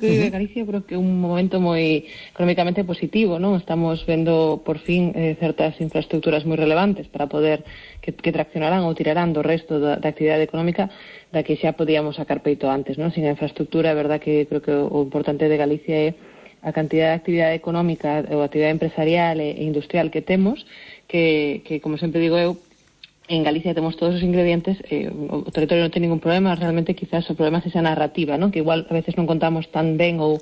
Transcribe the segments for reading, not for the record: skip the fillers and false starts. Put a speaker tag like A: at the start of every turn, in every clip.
A: que vive Galicia creo que é un momento moi económicamente positivo, non? Estamos vendo por fin certas infraestructuras moi relevantes para poder que traccionarán ou tirarán do resto da actividade económica da que xa podíamos sacar peito antes, non? Sin a infraestructura, é verdad que creo que o importante de Galicia é a cantidad de actividade económica ou actividade empresarial e industrial que temos, que como sempre digo eu, en Galicia temos todos os ingredientes, o territorio non ten ningún problema, realmente quizás o problema é esa narrativa, non? Que igual a veces non contamos tan ben ou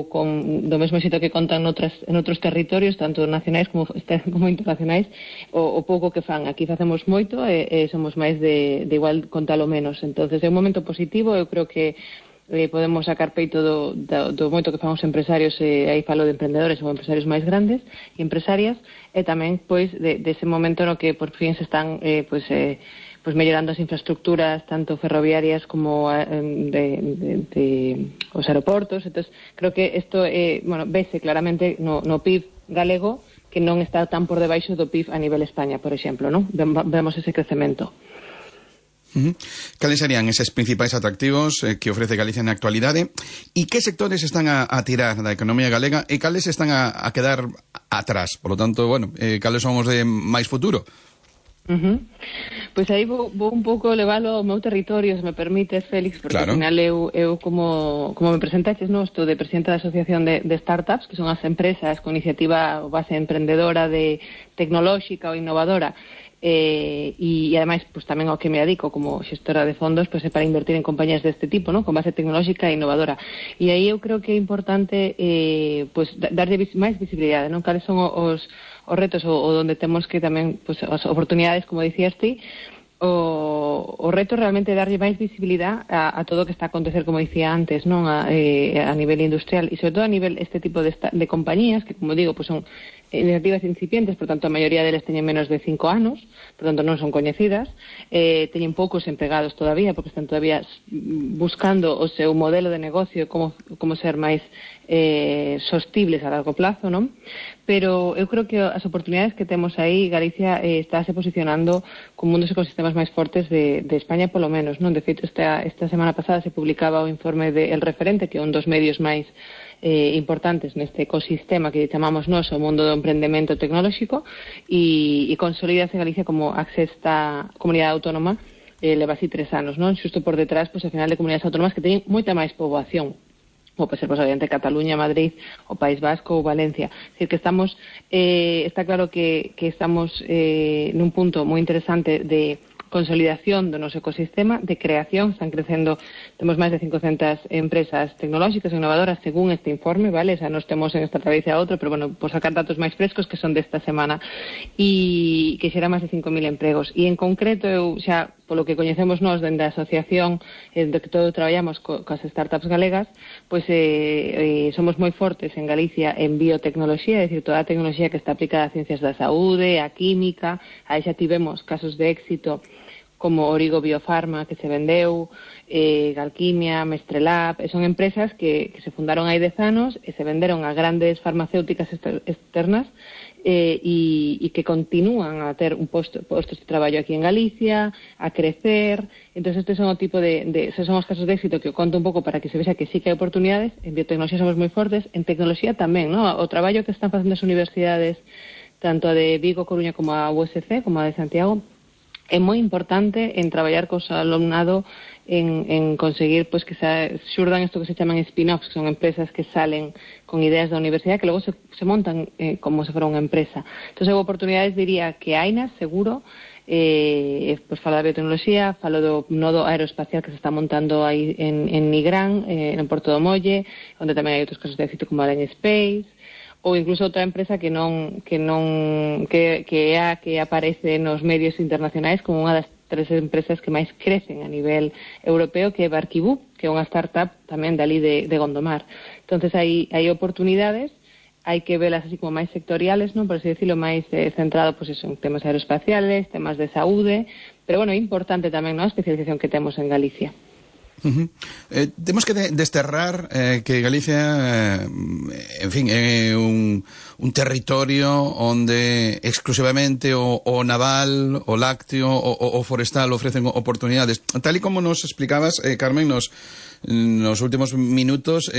A: con do mesmo xeito que contan en outros territorios, tanto nacionais como internacionais, o pouco que fan. Aquí facemos moito e somos máis de igual contalo menos. Entonces é un momento positivo, eu creo que podemos sacar peito do moito que fan os empresarios, aí falo de emprendedores ou empresarios máis grandes e empresarias, e tamén pois dese momento no que por fin se están mellorando as infraestructuras tanto ferroviarias como de os aeroportos. Entonces creo que isto vese claramente no PIB galego, que non está tan por debaixo do PIB a nivel España, por exemplo, non? Vemos ese crecemento.
B: Cales serían eses principais atractivos que ofrece Galicia na actualidade, e que sectores están a tirar da economía galega e cales están a quedar atrás? Por lo tanto, cales son os de máis futuro?
A: Pois aí vou un pouco leválo ao meu territorio, se me permite, Félix, porque
B: claro.
A: Ao final eu como me presentaches, estou de presidenta da Asociación de Startups, que son as empresas con iniciativa ou base emprendedora, tecnolóxica ou innovadora, e ademais pues tamén ao que me dedico como xestora de fondos, pues é para invertir en compañías deste tipo, ¿no? Con base tecnolóxica e innovadora. E aí eu creo que é importante darlle máis visibilidade, non? Cales son os retos ou onde temos que tamén pues, as oportunidades, como dicías ti. O reto realmente é darlle máis visibilidade a todo o que está a acontecer, como dicía antes, non? A nivel industrial e sobre todo a nivel este tipo de compañías que, como digo, pues son iniciativas incipientes, por tanto a maioría deles teñen menos de 5 anos, por tanto non son coñecidas, teñen poucos empregados todavía, porque están todavía buscando o seu modelo de negocio, como ser máis sostibles a largo plazo, non? Pero eu creo que as oportunidades que temos aí, Galicia estáse posicionando como un dos ecosistemas máis fortes de España, polo menos, non? De feito, esta semana pasada se publicaba o informe de El Referente, que é un dos medios máis importantes neste ecosistema que chamamos nós o mundo do emprendemento tecnolóxico, e consolídase Galicia como a sexta comunidade autónoma, leva así 3 anos, non? Xusto por detrás, pois, ao final, de comunidades autónomas que teñen moita máis poboación, como pode ser, obviamente, Cataluña, Madrid, o País Vasco ou Valencia. É dicir, que estamos, está claro que estamos nun punto moi interesante de consolidación do noso ecosistema, de creación. Están crecendo, temos máis de 500 empresas tecnolóxicas e innovadoras según este informe, vale? O sea, nos temos en esta travicia a outro, pero bueno, por sacar datos máis frescos que son desta semana, e que xera máis de 5.000 empregos. E en concreto, eu xa, polo que coñecemos nós dende a asociación de que todo traballamos coas startups galegas, pois somos moi fortes en Galicia en biotecnoloxía, é dicir, toda a tecnoloxía que está aplicada a ciencias da saúde, a química. Aí xa tivemos casos de éxito como Origo Biofarma, que se vendeu, Galquimia, Mestrelab, son empresas que se fundaron hai 10 anos e se venderon a grandes farmacéuticas externas, e que continúan a ter postos de traballo aquí en Galicia, a crecer. Entón, estes son o tipo son os casos de éxito que eu conto un pouco para que se vexa que sí que hai oportunidades. En biotecnoloxía somos moi fortes, en tecnoloxía tamén, ¿no? O traballo que están facendo as universidades, tanto a de Vigo, Coruña, como a USC, como a de Santiago, é moi importante en traballar cos alumnado en conseguir pues que xurdan isto que se chaman spin-offs, que son empresas que salen con ideas da universidade que logo se montan como se fora unha empresa. Entón, hai oportunidades, diría, que hainas, seguro. Pues falo da biotecnoloxía, falo do nodo aeroespacial que se está montando aí en Nigrán, en Porto do Molle, onde tamén hai outros casos de éxito como Alien Space, ou incluso outra empresa que é a que aparece nos medios internacionais como unha das 3 empresas que máis crecen a nivel europeo, que é Barquibú, que é unha startup tamén dali de Gondomar. Entonces hai oportunidades, hai que velas así como máis sectoriales, non, por así decirlo, máis centrado pues eso, en temas aeroespaciales, temas de saúde, pero bueno, é importante tamén, non, a especialización que temos en Galicia.
B: Temos que desterrar que Galicia en fin, é un territorio onde exclusivamente o naval, o lácteo, o forestal ofrecen oportunidades, tal e como nos explicabas, Carmen, nos últimos minutos.